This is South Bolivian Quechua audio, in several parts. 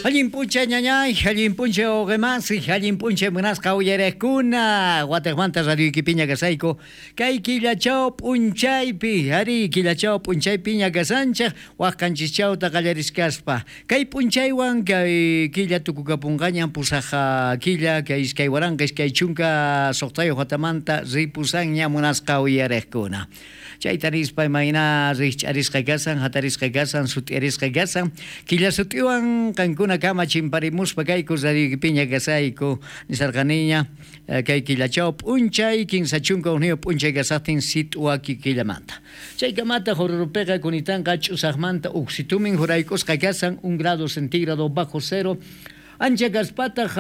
Allin p'unchay ñañay, allin p'unchay wawqimasi, allin p'unchay munasqa uyariqkuna. Watejmanta radioykipiña kasayku. Kay killachaw p'unchaypi, ari killachaw p'unchaypiña kasanchej, waj qanchischawta qallariskaspa. Kay p'unchaywan kay killa tukukapunqañan pusaj killa kay 2026 watamanta ripusanña munasqa uyariqkuna. Chayta nispa imayna rijch'arisqa kasan, hatarisqa kasan, sut'iarisqa kasan. Killa sut'iwan qankuna kama chimparimuspa kayku radioykipiña kasayku nisarqaniña kay killachaw p'unchay 31 p'unchay kasaqtin sit'uwaki killamanta. Chaykamata Oruropiqa kunitanqa ch'usaqmanta uksitumin jurayk'usqa kasan 1 grado centígrado bajo cero. Ancha kaspataq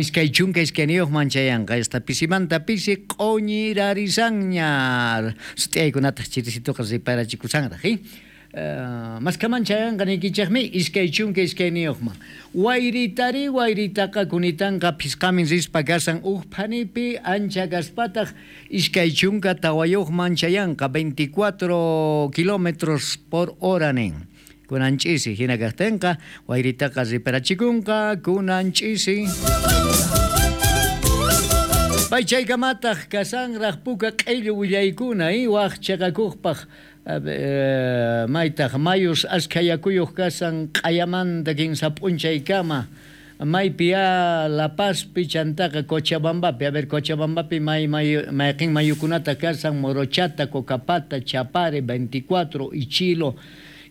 22 chayanqa esta pisimanta pisi q'uñirarisanña sut'iyaykunataq chirisituqa riparachikushanraq maskaman chayanqa niykichikmi 22man wayritari wayritaqa kunitanqa phisqamin rispa kasan uj phanipi ancha kaspataq 24man chayanqa 24 kilómetros por hora nin. Kunan ch'isi hina kaqtinqa wayritaqa riparachikunqa kunan ch'isi. Pay chaykamataq kasanraq puka q'illu willaykuna waj chaqakuqpaq maytaq mayus ashkha yakuyuq kasan q'ayamanta kinsa p'unchaykama maypi ya La Pazpi chantaqa Cochabambapi, a ver Cochabambapi mayqin mayukunata kasan Morochata, Cocapata, Chapare, 24, Ichilo,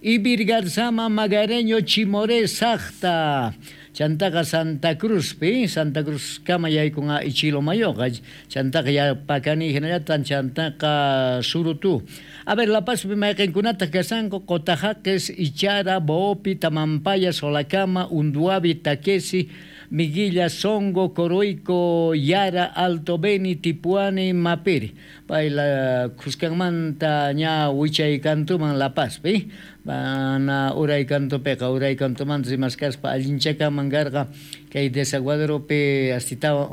Ibirgarzama, Magareño, Chimoré, Sacta, chantaqa Santa Cruzpi, Santa Cruz kama yaykunqa Ichilo mayuqa, chantaqa Yapacani hinallatan chantaqa Surutú. A ver, La Pazpi mayqinkunataq kasanku Cotajaques, Ichara, Boopi, Tamampaya, Solacama, Unduavi, Taquesi, Miguilla, Songo, Coroico, Yara, Alto Beni, Tipuani, Mapiri. Pay la Cuscanmanta ña wichay kantuman La Pazpi, mana uray kantupiqa, uray kantumanta rimaskaspa allinchakaman karqa kay desaguaderopi astitawa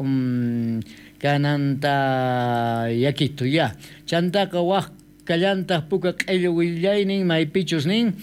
kananta yakitu ya. Chantaqa waj kallantaq puka q'illu willaynin maypichus nin.